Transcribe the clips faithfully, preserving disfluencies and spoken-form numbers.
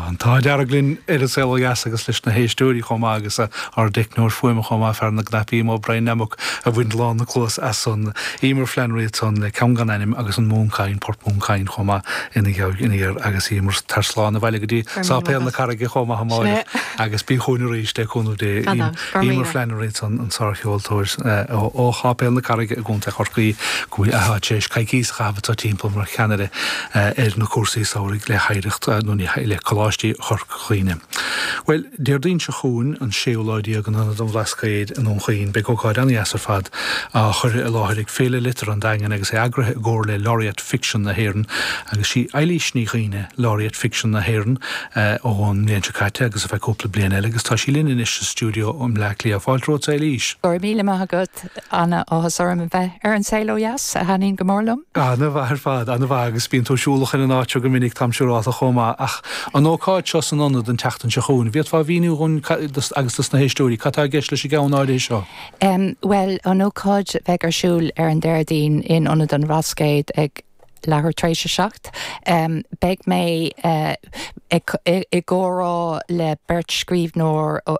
An t-ádh dearg linn ar An Saol Ó Dheas agus leis na héisteoirí chomh maith agus ár dteicneoir fuaime chomh maith, fear na gcnaipí, mo Brian Nammock a bhain lán na cluas as san Emer Flannery san le ceann gan ainm agus an Mhúncain, Port Mhúncain chomh maith ina ina dhiaidh agus Emer tar slán abhaile go dtí Sáipéal na Carraige chomh maith amárach agus bí chugainn arís le cúnamh Dé. Emer Flannery san an sárcheoltóir ó Sháipéal na Carraige i gContae Chorcaí go bhfuil atá tar éis coicís a chaitheamh timpeall mar cheannaire ar na cúrsaí samhraidh le hoidhreacht nó le Coláistí Chorca Dhuibhne. Well, Déardaoin seo chugainn an séú lá déag in Ionad an Bhlascaoid i nDún Chaoin, beidh ócáid an-deas ar fad á chur i láthair ag Féile Liteartha an Daingin agus é eagraithe i gcomhar le Laureate Ficsean na hÉireann agus sí Eilís Ní Dhuibhne Laureate Ficsean na hÉireann ón mbliain seo caite agus ar feadh cúpla bliain eile agus tá sí linn anois sa stiúideo i mBleá Cliath. Fáilte romhat Eilís. Go raibh míle maith agat an-áthas orm a bheith ar An Saol Ó Dheas a thaitníonn go mór liom. An-mhaith ar fad, an-mhaith agus bíonn tú siúlach in an áit seo go minic táim siúrálta chomh maith ach an ócáid seo san ionad an tseachtain seo chugainn, bhféadfá a mhíniú dhúinn agus dos na héisteoirí, cad tá i gceist leis an gceann áirithe seo? Um, well an ócáid bheidh ar siúl ar an Déardaoin in Ionad an Bhlascaoid ag leathuair tar éis a seacht. Um, beidh mé uh, i gcomhrá le beirt scríbhneoir uh,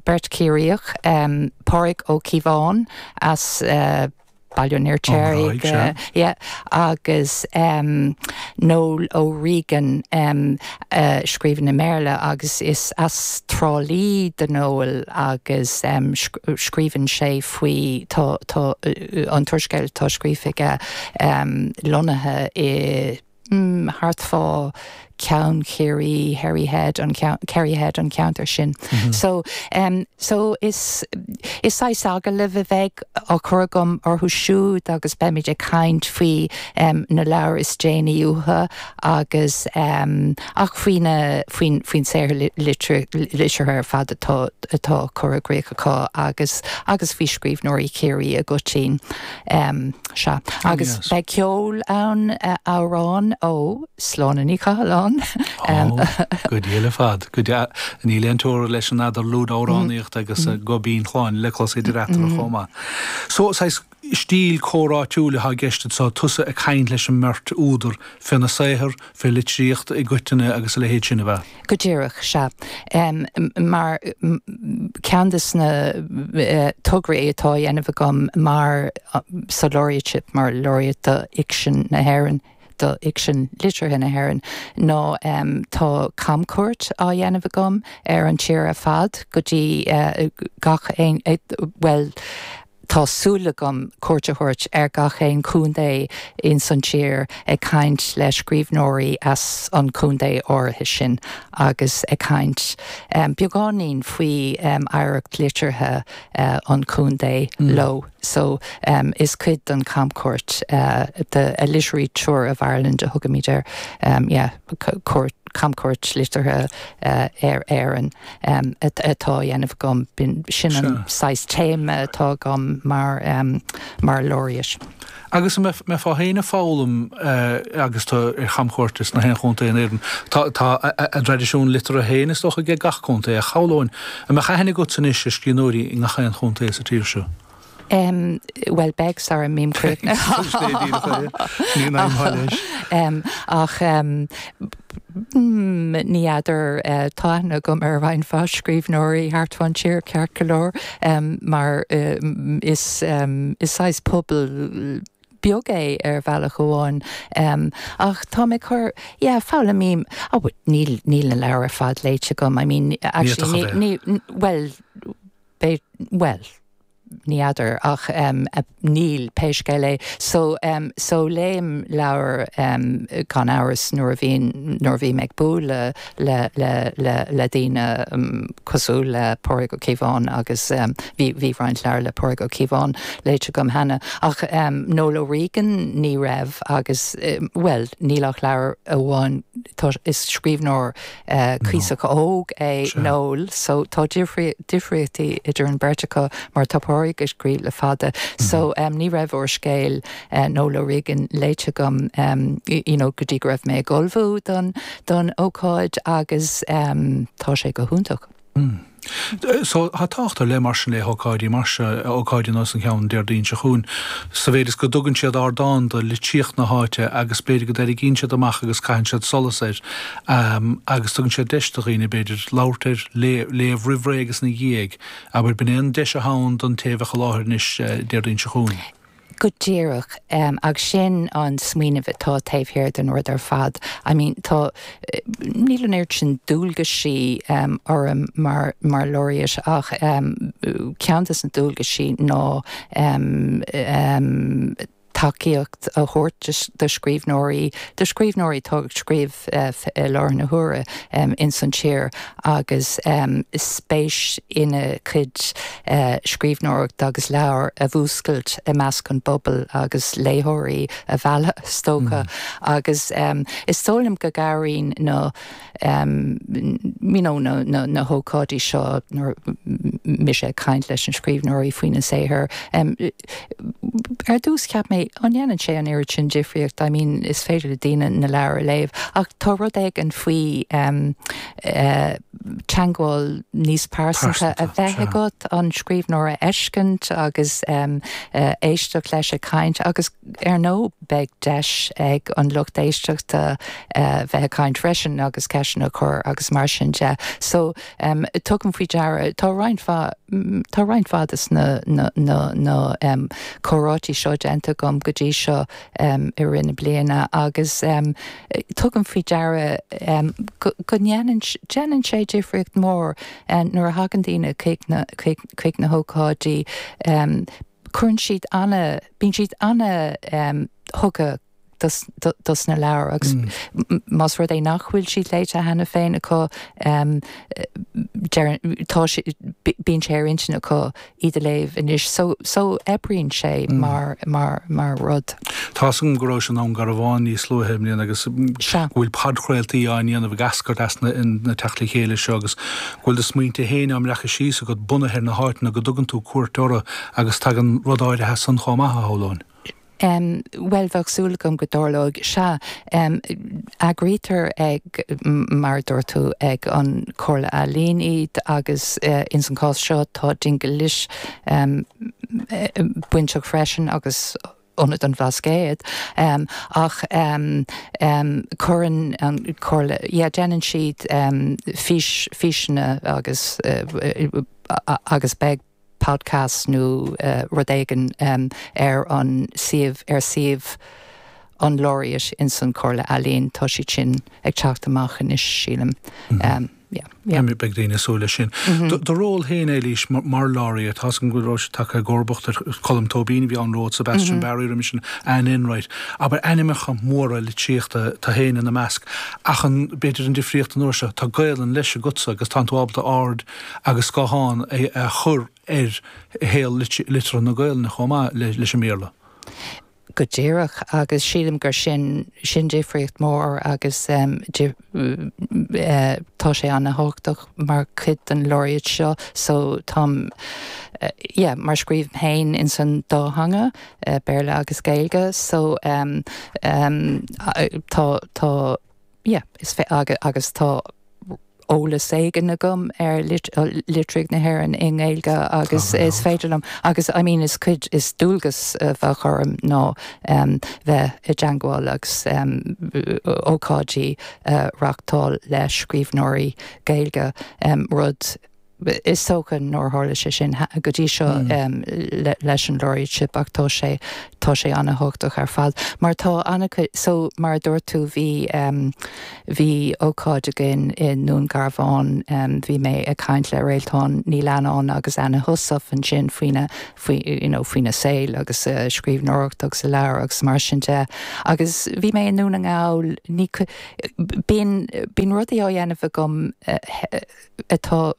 beirt Chiarraíoch um, Pádraig Ó Cíobháin as uh, Baile an Fheirtéaraigh yeah, agus um, Noel O'Regan um, uh, scríobhann i mBéarla agus is as Trá Lí do Noel agus um, scríobhann sé faoi tá, tá, uh, an t-úrscéal atá scríofa aige um, lonnaithe i mm, thart fá Ceann Chiarraí Harry Head an Kerry Head an ceantar sin. Mm -hmm. So um, so is is saghas agallamh a bheidh á chur agam orthu siúd agus beimid ag caint faoi um, na leabhair is déanaí uathu agus um, ach faoina faoin faoin saothar liteartha ar fad atá atá curtha i gcrích acu agus agus faoi scríbhneoirí Chiarraí i gcoitinne. Um, sea agus yes. beidh ceol ann uh, amhrán ó Sláine Ní Chathalláin. Go dtí fad go ní leontóir leis an eadarlúd amhránaíocht agus gobín chláin le clos idir eatarthu chomh maith. So saghas stíl comhráitiúil atá i gceist so tusa ag caint leis an mbeirt údar faoina saothar fé litríocht i gcoitinne agus a leithéid sin a bheith. Go díreach sea um, mar ceann de na uh, tograí atá á dhéanamh agam mar uh, sa laureateship mar laureate do fhicsean na hÉireann do fhicsean liteartha na hÉireann ná um, tá camchuairt á dhéanamh agam ar an tír ar fad go dtí uh, gach aon uh, well tá súil agam cuairt a thabhairt ar gach aon chontae in san tír ag caint le scríbhneoirí as an chontae áirithe sin agus ag caint um, beagáinín faoi um, oidhreacht liteartha uh, an chontae mm. leo. So um, is cuid den camchuairt uh, the a literary tour of Ireland a thugaimid air um, yeah, cuairt camchuairt liteartha uh, ar Éirinn um, atá á dhéanamh agam b'in sin an saghas téama atá agam mar um, mar laureate. Agus mbeifeá féin ag foghlaim uh, agus tú ar chamchuairt sna haon chontae in Éirinn Tá tá a dtraidisiún liteartha féin is dócha ag gach contae a chabhlóin a mbeadh aithne agat anois ar scríbhneoirí i ngach aon chontae sa tír seo. Um, well beidh sara mbím um, ach um, mm, ní fheadar uh, tá aithne agam ar roinnt mhaith scríbhneoirí thart fán tír ceart go leor um, mar um, is um, is saghas pobal beag é ar bhealach amháin um, ach tá mé chur yeah, foghlaimím oh, níl níl na leabhair ar fad léite agam I mean actually ní, ní, well be, well ní fheadar ach um, níl pé scéal é so um, so léim leabhar um, gan amhras nuair a bhíonn nuair a bhím ag bualadh le le le le daoine um, cosúil le Pádraig Ó Cíobháin agus um, bhí bhí roinnt leabhar le Pádraig Ó Cíobháin léite agam cheana ach um, Noel O'Regan ní raibh agus um, well níl ach leabhar amháin is scríbhneoir uh, cuíosach óg é Noel so tá difríochtaí idir an bheirt acu mar tá Pádraig ag scríobh le fada. Mm -hmm. So um, ní raibh úrscéal uh, Noel O'Regan léite agam um, you know, go dtí go raibh mé ag ullmhú don don ócáid agus um, tá sé go hiontach. So tá tábhacht ar leith mar sin le hócáidí mar seo, ócáidí ar nós an cheann Déardaoin seo chugainn, sa mhéid is go dtugann siad ardán do litríocht na háite agus b'fhéidir go dtarraingíonn siad amach agus caitheann siad solas air agus tugann siad deis do dhaoine b'fhéidir labhairt air, léamh roimh ré agus ina dhiaidh. Abair, b'in é an deis atá ann don té a bheadh i láthair anois Déardaoin seo chugainn. Go díreach, agus sin an smaoineamh atá taobh thiar den rud ar fad. I mean, tá, níl an oiread sin dualgaisí orm mar, mar laureate ach ceann des na dualgaisí ná tacaíocht a thabhairt do scríbhneoirí, do scríbhneoirí atá ag scríobh i láthair na huaire ins an tír agus spéis ina gcuid scríbhneoireachta agus leabhar a mhúscailt i measc an bpobail agus léitheoirí a mhealladh, is dócha. Agus is dóigh liom go gcabhraíonn na you know na na na hócáidí seo nuair mise ag caint leis na scríbhneoirí faoina saothar. Ar dtús cheap mé an ndéanann sé an oiread sin difríocht, I mean is féidir le daoine na leabhair a léamh ach tá rud éigin faoi teagmháil níos pearsanta a bheith agat, an scríbhneoir a fheiscint agus éisteacht leis ag caint agus ar ndóigh beidh deis ag an lucht éisteachta bheith ag caint freisin agus ceisteanna a chur agus mar sin de. So tugaim faoi deara, tá roinnt mhaith, tá roinnt mhaith des na na na na comhráití seo déanta agam go dtí seo i rith na bliana agus tugaim faoi deara go go ndéanann déanann sé difríocht mhór nuair a thagann daoine chuig na chuig chuig na hócáidí cuireann siad ana bíonn siad ana thugtha dos dos na leabhair agus más rud é nach bhfuil siad léite cheana féin acu tá bíonn sé ar intinn acu iad a léamh anois so so oibríonn sé mar mar mar rud. Tá a fhios agam go raibh sé i nDún Garbhán níos luaithe i mbliana agus go bhfuil podchraoltaí á ndéanamh ag eascairt as na na teacht le chéile seo agus go bhfuil do smaointe féin á mbreacadh síos agat bunaithe ar na háiteanna go dtugann tú cuairt orthu agus tagann rud áirithe as san chomh maith, a shamhlóinn. Bhuel, bheadh súil agam go dtarlóidh. Sea, eagraítear ag, mar a dúirt tú, ag an Chomhairle Ealaíon iad agus ins an chás seo tá Dingle Lit bainteach freisin agus Ionad an Bhlascaoid. Ach cuireann an Chomhairle, yeah, déanann siad fís, físeanna agus agus beidh podcast nó rud éigin ar an suíomh, ar suíomh an Laureate ins an Chomhairle Ealaíon, tá siad sin ag teacht amach anois, sílim. Yeah, yeah. Beidh daoine ag súil leis sin. Do ról féin, Éilís, mar Laureate, tá a fhios agam go raibh sé tagtha i gcomharbacht ar Colm Tóibín a bhí ann romhat, Sebastian Barry roimis sin, Anne Enright. Abair ainmneacha móra litríochta, tú féin ina measc. Ach an, b'fhéidir an difríocht an uair seo, tá Gaelainn leis agatsa agus tánn tú ábalta aird agus scáthán a chur ar shaol liteartha na Gaelainne chomh maith leis an mBéarla. Go díreach, agus sílim gur sin, sin difríocht mhór agus tá sé ana-thábhachtach mar chuid den Laureate seo so táim, yeah, mar scríobhaim féin ins an dá theanga, Béarla agus Gaeilge, so tá, tá, yeah, is agus tá eolas éigin agam ar litríocht na hÉireann i nGaeilge agus is féidir liom agus I mean is cuid is dualgas a bheadh orm ná bheith i dteangmháil agus ócáidí a reachtáil le scríbhneoirí Gaeilge, rud Is dócha nár tharla sé sin go dtí seo leis an Laureateship ach tá sé, tá sé ana-thábhachtach ar fad mar tá ana-chuid, so mar a dúirt tú bhí, bhí ócáid againn i nDún Garbhán, bhí mé ag caint le Réaltán Ní Leannáin agus Anna Heussaff ansin faoina, faoi, you know, faoina saol agus a scríbhneoireacht agus a leabhair agus mar sin de agus bhí mé i nDún na nGall, ní, bíonn, bíonn rudaí á dhéanamh agam atá,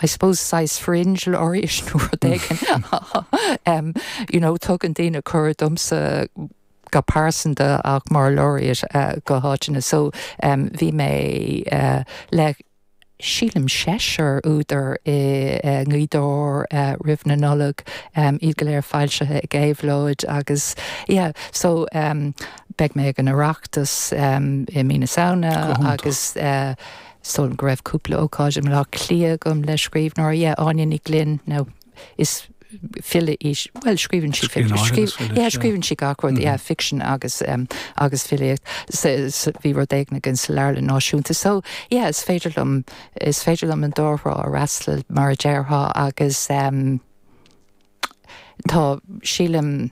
I suppose, saghas fringe laureate nó rud éigin. You know, tugann daoine cuireadh domsa go pearsanta ach mar laureate go háiteanna. So bhí mé le sílim seisear údar i nGaoth Dobhair roimh na Nollag, iad go léir foilsithe ag Éabhlóid agus yeah, so beidh mé ag an Oireachtas i mí na Samhna agus So go raibh cúpla ócáid i mBaile Átha Cliath agam le scríbhneoir yeah, Áine Ní Ghlinn no is file í well scríobhann sí scríobhann sí gach rud yeah, fiction agus um, agus filíocht bhí rud éigin againn sa Leabharlann Náisiúnta so yeah, is féidir liom is féidir liom an dá thrá a fhreastal mar a déarfá agus um, tá sílim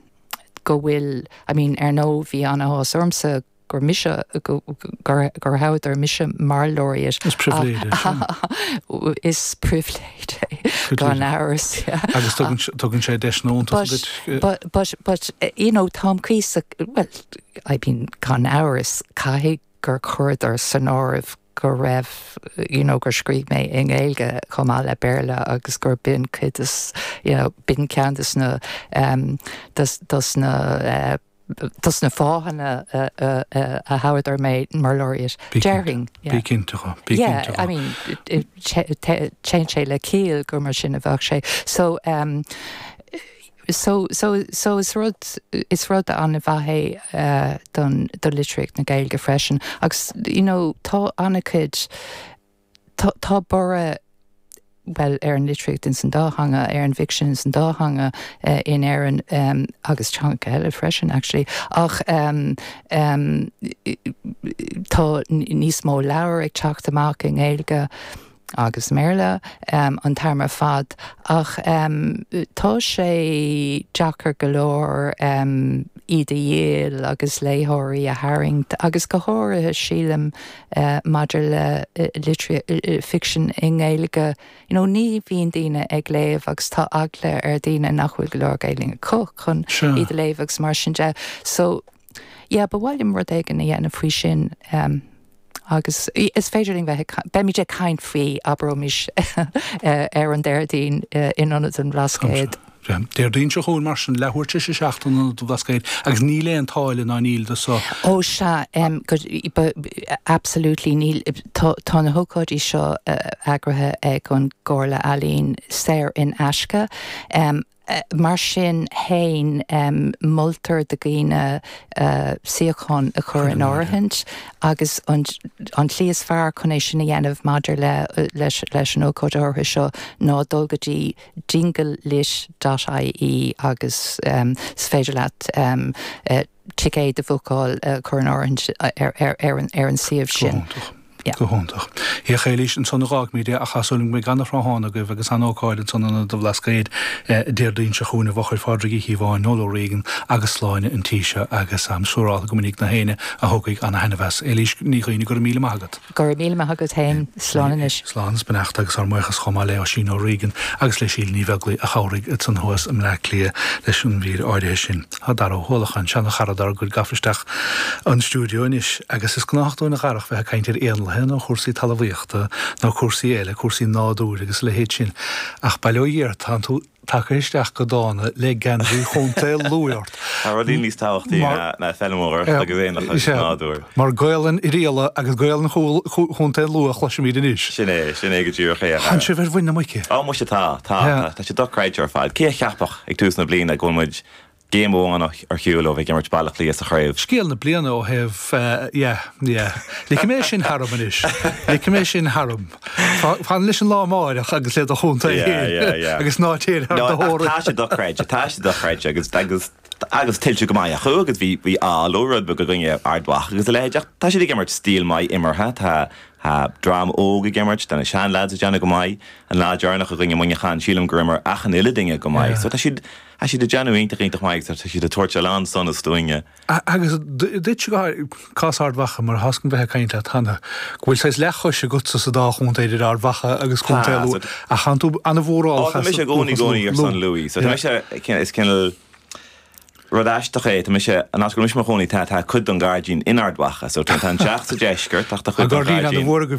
go bhfuil I mean ar ndóigh bhí an-áthas ormsa gur mise gur gur thoghadar mise mar laureate. Is pribhléid Is pribhléid gan amhras agus tugann sé deis But but but you know táim cuíosach well I mean gan amhras caithfidh gur chuireadar san áireamh go raibh you know gur scríobh mé i nGaeilge chomh maith le Béarla agus gur b'in cuid is you know b'in ceann des na um, des, des na uh, des na fáthanna uh, uh, uh, a thoghadar mé mar laureate Déarfainn Bí cinnte Yeah, I mean téann sé le ciall gur mar sin a bheadh sé so um, so so so is rud is rud an-mhaith é uh, don do litríocht na Gaeilge freisin agus you know tá an-chuid tá tá borradh well ar an litríocht in san dá theanga ar an bhficsean in san dá theanga uh, in Éirinn um, agus teanga eile freisin actually ach um, um, tá níos mó leabhar ag teacht amach i nGaeilge agus mBéarla um, an t-am ar fad ach um, tá sé deacair go leor um, iad a dhíol agus léitheoirí a tharraingt agus go háirithe sílim uh, maidir le uh, litri uh, fiction i nGaeilge you know, ní bhíonn daoine ag léamh agus tá eagla ar daoine nach bhfuil go leor Gaeilge acu chun iad a léamh agus mar sin de so yeah, ba mhaith liom rud éigin a dhéanamh faoi sin um, agus is féidir linn bheith beimid ag caint faoi abraimis ar an Déardaoin in Ionad an Bhlascaoid. Déardaoin seo chugainn mar sin leathuair tar éis a seacht in Ionad an Bhlascaoid agus níl aon táille ná níl do so. Ó sea um, absolutely níl tá na hócáidí seo eagraithe ag an gComhairle Ealaíon saor in aisce. Um, mar sin féin um, moltar do dhaoine uh, suíochán a chur in áirithint agus an, an tslí is fearr chun é sin a dhéanamh maidir le, leis, leis an ócáid áirithe seo ná dul go dtí dinglelit.ie agus um, is féidir leat um, uh, ticéad a bhookáil uh, chur in áirithint ar, ar, ar, an, ar an suíomh sin. Go hiontach. A Éilís ansan a fhágfaimid é ach tá súil agam go mbeidh an-thráthnóna agaibh agus an-ócáid ansan in Ionad an Bhlascaoid Déardaoin seo chugainn i bhfochair Phádraig Uí Chíobháin, Noel O'Regan agus Sláine an tí seo agus am siúráilte go minic na héinne a thiocfaidh ana-thaitneamh as. Éilís Ní Dhuibhne go raibh míle maith agat. Go raibh míle maith agat féin slán anois. Slán is beannacht agus ár mbuíochas chomh maith le Oisín O'Regan agus le Síle Ní Bheaglaoí a chabhraigh ansan thuas i mBleá Cliath leis an mhír áirithe sin. Tá Dara Ó hUallacháin, seana-chara dár gcuid gafa isteach an stiúideo anois agus is gnách dúinn a Dharach bheith ag caint ar éanlaithe nó chúrsaí talmhaíochta nó cúrsaí eile, cúrsaí nádúir agus a leithéid sin. Ach bail ó Dhia ort, tá tú tagtha isteach go dána le geansaí Chontae Lú ort. Tá rudaí níos tábhachtaí ná feilméaracht agus éanlaithe agus nádúr. Mar Gaolainn Oirialla agus Gaolainn Chontae Lú a chloisimid anois. Sin é, sin é go díreach é. Tánn sibh ar mhuin na muice. Á muise tá, tá, tá sé dochreidte ar fad. Cé a cheapfadh ag tús na bliana go bhfuil muid Géim amháin ar shiúl ó bheith ag imirt Baile Átha Cliath sa chraobh. Scéal na bliana ó thaobh, yeah, yeah. Ligfidh mé sin tharam anois. Ligfidh mé sin tharam. Fan leis an lá amárach agus le do chontae féin agus ná téir thar do thóraí. Tá sé dochreidte, tá sé dochreidte agus agus agus tuillte go maith acu agus bhí bhí ádh leo rud beag i gcoinne Ard Mhacha agus a leithéid ach tá siad ag imirt stíl maith imeartha, tá tá dream óg ag imirt, tá na seanleaids ag déanamh go maith, an lá deireanach i gcoinne Muineachán sílim gur imir achan uile duine go maith. So tá siad Tá siad ag déanamh iontach iontach maith agus tá siad ag tabhairt a lán sonas dúinne. Agus duit go háirithe, cás Ard Mhacha, mar tá a fhios agam bheith ag caint leat cheana, go bhfuil saghas leathchois agatsa sa dá chontae idir Ard Mhacha agus Contae Lú, ach tánn tú an-mhórálach as Tá mise i gcónaí i gcónaí ar son Lú. So tá mise, is cineál rud aisteach é, tá mise, an áit go bhfuil mise i mo chónaí, tá tá cuid den ghairdín in Ard Mhacha, so tá an teach sa deisceart ach tá cuid den ghairdín. An gairdín an-mhór agaibh.